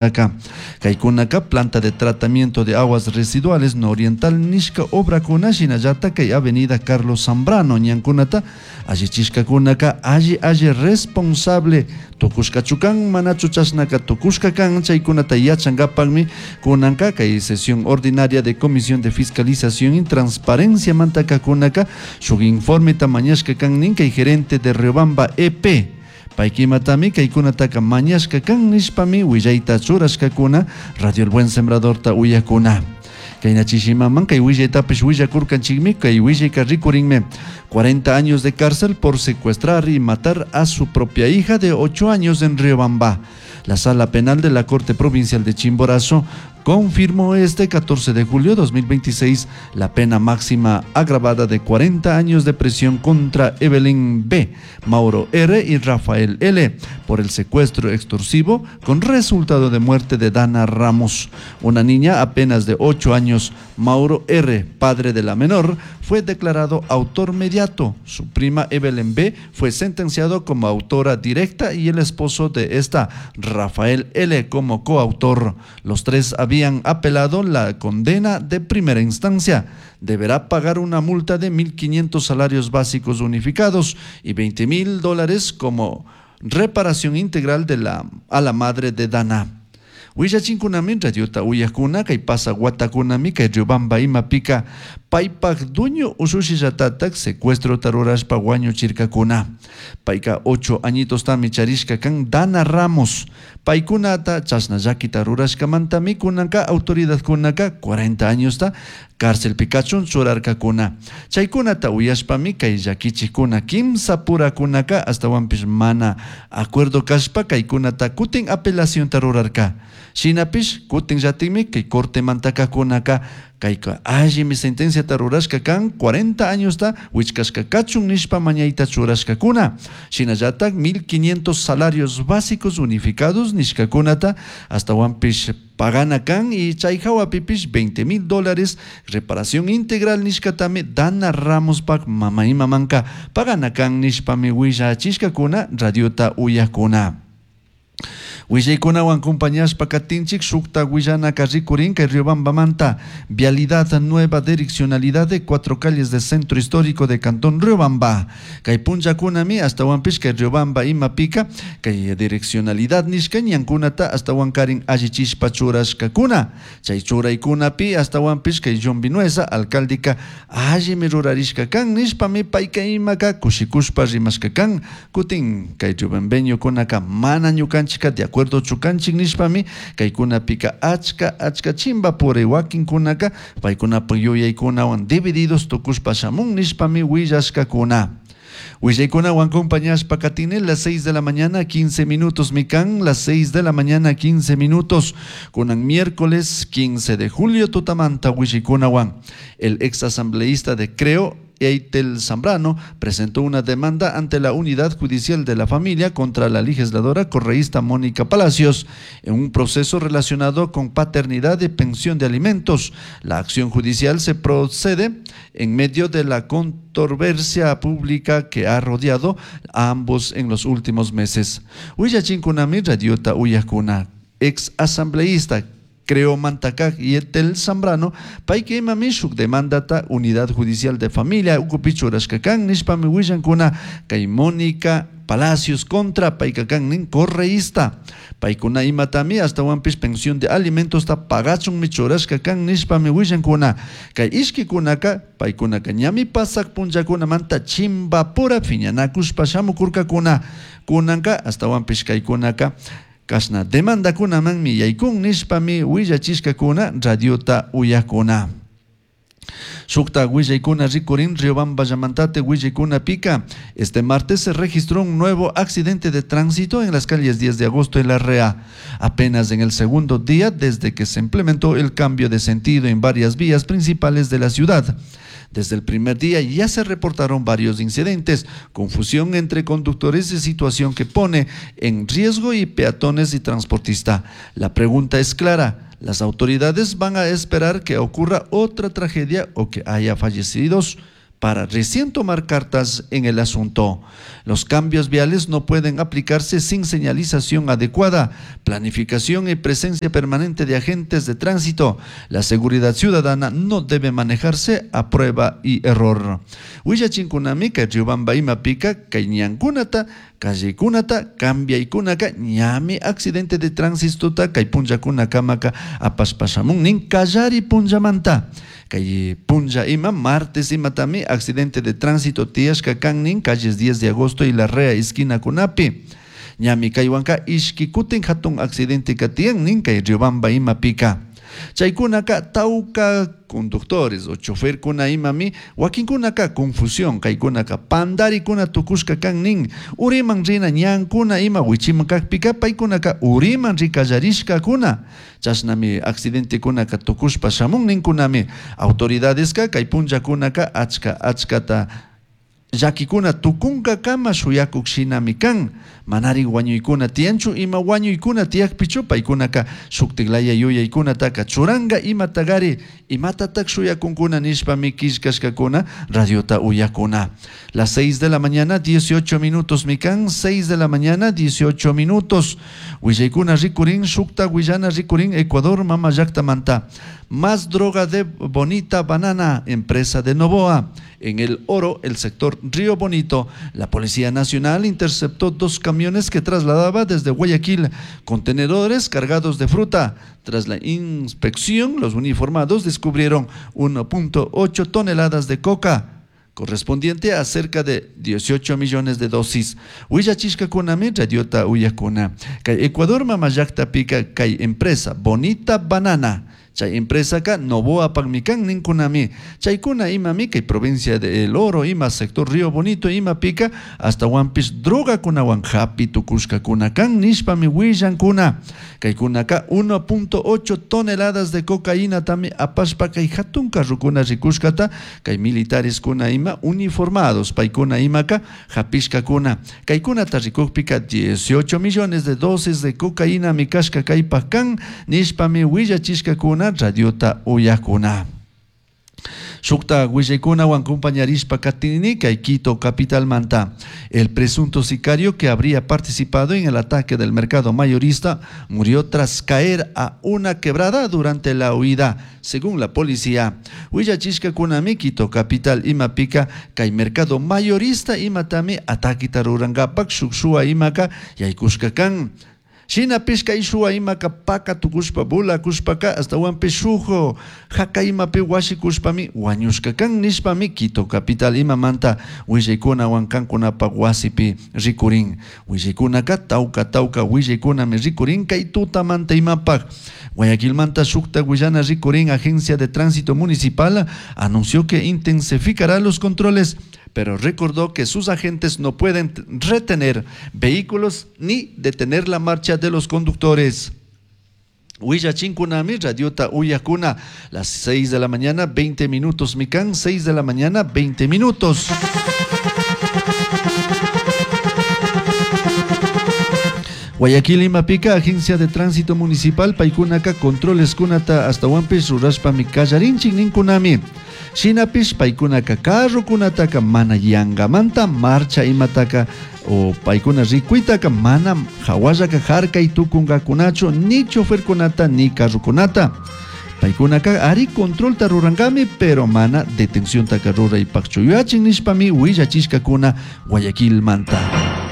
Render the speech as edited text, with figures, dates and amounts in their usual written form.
Kaykunaka planta de tratamiento de aguas residuales nororiental nishka obrakuna, shinallata kay avenida Carlos Zambrano ñankunata allichishkakunaka alli alli responsable tukushkachu kan, manachu chashnaka tukushka kan, chaykunata yachankapakmi kunanka kay sesión ordinaria de Comisión de Fiscalización y Transparencia mantakakunaka shuk informeta mañashka kan nin kay gerente de Riobamba EP. Paykimatami kaykunataka mañashka kan nishpami willayta churashkakuna Radio El Buen Sembradorta uyakuna. Kayna chishimaman kay willaytapish willakurkanchikmi, kay willayka rikurinmi 40 años de cárcel por secuestrar y matar a su propia hija de 8 años en Riobamba. La Sala Penal de la Corte Provincial de Chimborazo confirmó este 14 de julio de 2026 la pena máxima agravada de 40 años de prisión contra Evelyn B., Mauro R. y Rafael L. por el secuestro extorsivo con resultado de muerte de Dana Ramos, una niña apenas de 8 años. Mauro R., padre de la menor, fue declarado autor mediato. Su prima Evelyn B. fue sentenciado como autora directa y el esposo de esta, Rafael L., como coautor. Los tres habían apelado la condena de primera instancia. Deberá pagar una multa de 1.500 salarios básicos unificados y $20.000 como reparación integral a la madre de Dana. Willachinkunami radiota uyakuna kay pasa watakunami kay Riobamba imapika paypak dueño usushillatatak secuestro rurashpa wañuchirkakuna. Payka 8 añitostami charishka kan Dana Ramos. Paykunata chashna llakita rurashkamantami kunanka autoridadkunaka 40 añosta cárcelpi kachun churarkakuna. Chaykunata uyashpami kay llakichikuna kimsa purakunaka astawanpish mana acuerdo kashpa kaykunata kutin apelacionta rurarka. Shinapish kutin llatikmi kay corte mantakakunaka kayka allimi sentenciata rurashka kan 40 añosta wichkashka kachun nishpa mañayta churashkakuna. Shinallatak 1.500 salarios básicos unificados nishkakunata astawanpish pagana kan y chay hawapipish $20.000 reparación integral nishkatami Dana Ramospak mama imamanka pagana kan nishpami willachishkakuna radiota uyakuna. Willaykunawan compañashpa katinchik shukta willanaka rikurin kay Riobambamanta vialidad nueva direccionalidad de 4 calles del centro histórico de Cantón Riobamba. Kay punllakunami astawanpish kay Riobamba imapika kay direccionalidad nishka ñankunata astawankarin allichishpa churashkakuna. Chay churaykunapi astawanpish kay John Vinuesa alcaldika allimi rurarishka kan nishpami payka imaka kushikushpa rimashka kan. Kutin kay riobambeñokunaka mana ñukanchika de acuerdo chukanchik nishpami kaykunapika achka achka chimba puri wakinkunaka paykunapak yuyaykunawan divididos tukushpa shamun nishpami willashkakuna. Willaykunawan acompañashpa katini las 6 de la mañana 15 minutos mikan, las 6 de la mañana 15 minutos kunan miércoles 15 de julio tutamanta willaykunawan. El ex asambleísta de Creo, Eitel Zambrano, presentó una demanda ante la Unidad Judicial de la Familia contra la legisladora correísta Mónica Palacios en un proceso relacionado con paternidad y pensión de alimentos. La acción judicial se procede en medio de la controversia pública que ha rodeado a ambos en los últimos meses. Willachinkunami radiota uyakuna, ex asambleísta Creo Mantacac y Etel Zambrano, payka imami shuk demandata Unidad Judicial de Familia ukupi churashkakan nishpami willankuna kay Mónica Palacios contra paykakan nin correísta. Paykuna imatami astawanpish pensión de alimentos ta pagachunmi churashkakan nishpami willankuna. Kay ishkikunaka paykunaka ñami pasak punllakunamanta chimbapura piñanakushpa shamukurkakuna. Kunanka astawanpish kaykunaka kashna demandakunamanmi yaykun nishpami willachishkakuna radiota uyakuna. Shukta willaykuna rikurin Riobamba llamantate willaykuna pika. Este martes se registró un nuevo accidente de tránsito en las calles 10 de agosto en La Rea. Apenas en el segundo día desde que se implementó el cambio de sentido en varias vías principales de la ciudad. Desde el primer día ya se reportaron varios incidentes, confusión entre conductores y situación que pone en riesgo y peatones y transportista. La pregunta es clara, ¿las autoridades van a esperar que ocurra otra tragedia o que haya fallecidos Para recién tomar cartas en el asunto. Los cambios viales no pueden aplicarse sin señalización adecuada, planificación y presencia permanente de agentes de tránsito. La seguridad ciudadana no debe manejarse a prueba y error. Willachinkunami kay Riobamba imapika kay ñankunata, callekunata, cambiaykunaka ñami accidente de tránsito kay punllakunakamaka apashpashamun nin kallari punllamanta. Kay punlla ima martes imatami accidente de tránsito tiyashka kan nin calles 10 de agosto y Larrea esquinakunapi. Ñami kaywanka ishki kutin hatun accidente tiyan nin kay Riobamba imapika. Chaykunaka tawka conductores o choferkuna imami wakinkunaka confusión kaykunaka pandarikuna tukushka kan nin uriman rina ñankuna ima wichiman kakpika paykunaka uriman rikallarishkakuna chashnami accidentekunaka tukushpa shamun ninkunami autoridadeska kay punllakunaka achka achkata llakikuna tukunkakama shuyakuk shinami kan. Manari wañuykuna tiyanchu ima wañuykuna tiyakpichu paykunaka shuktiklaya yuyaykunataka churanka imatagari imatatak shuyakunkuna nishpami killkashkakuna radiota uyakuna. Las 6 de la mañana 18 minutos mikan, 6 de la mañana 18 minutos. Willaykuna rikurin shukta willana rikurin Ecuador mama llaktamanta. Más droga de Bonita Banana, empresa de Novoa. En el Oro, el sector Río Bonito, la Policía Nacional interceptó 2 camiones que trasladaba desde Guayaquil contenedores cargados de fruta. Tras la inspección, los uniformados descubrieron 1.8 toneladas de coca, correspondiente a cerca de 18 millones de dosis. Willachishkakunami radiota uyakuna. Kay Ecuador mama llaktapika kay empresa Bonita Banana. Chay empresa ka Novoa pagmikan ninkunami. Chaykuna imami kay provincia de El Oro ima sector Río Bonito ima pica hasta wampis droga kunawan hapi tukushkakuna kan nishpami willankuna. Kaykunaka 1.8 toneladas de cocaína tami apashpa kay hatun carrukuna rikushkata kay militares kuna ima uniformados paykuna imaka hapishkakuna. Kaykunata rikukpika 18 millones de dosis de cocaína mikashka kaypak kan nishpami willachishkakuna radiota uyakuna. Shukta willaykunawan compañarishpa katini kay Quito capital manta. El presunto sicario que habría participado en el ataque del mercado mayorista murió tras caer a una quebrada durante la huida, según la policía. Willachishkakunami Quito capital imapika kay mercado mayorista imatami ataquita rurangapak shukshua imaka yaykushka kan. Shinapish kay shuwa imaka paka tukushpa bulakushpaka hasta shujo haka imapi washikushpami wañushka kan nishpami Quito capital imamanta willaykunawan kankunapaq wasipi rikurin. Willaykunaka tawka tawka willaykunami rikurin kay tutamanta imapaq. Guayaquilmanta shukta willana rikurin Agencia de Tránsito Municipal anunció que intensificará los controles, pero recordó que sus agentes no pueden retener vehículos ni detener la marcha de los conductores. Willachinkunami, radiota uyakuna, las 6 de la mañana, 20 minutos, Mikan, 6 de la mañana, 20 minutos. Guayaquil Imapica, Agencia de Tránsito Municipal, paykunaka, controles kunata, hasta Huampis, rurashpami kallarinchik ninkunami. Shinapish paykunaka carrokunataka mana yangamanta marcha imataka o paykuna rikuytaka mana hawallaka harkay tukunkakunachu ni choferkunata ni carrokunata. Paykunaka ari controlta rurankami pero mana detenciontaka ruraypaqchu yuyachin nishpami willachishkakuna Guayaquilmanta.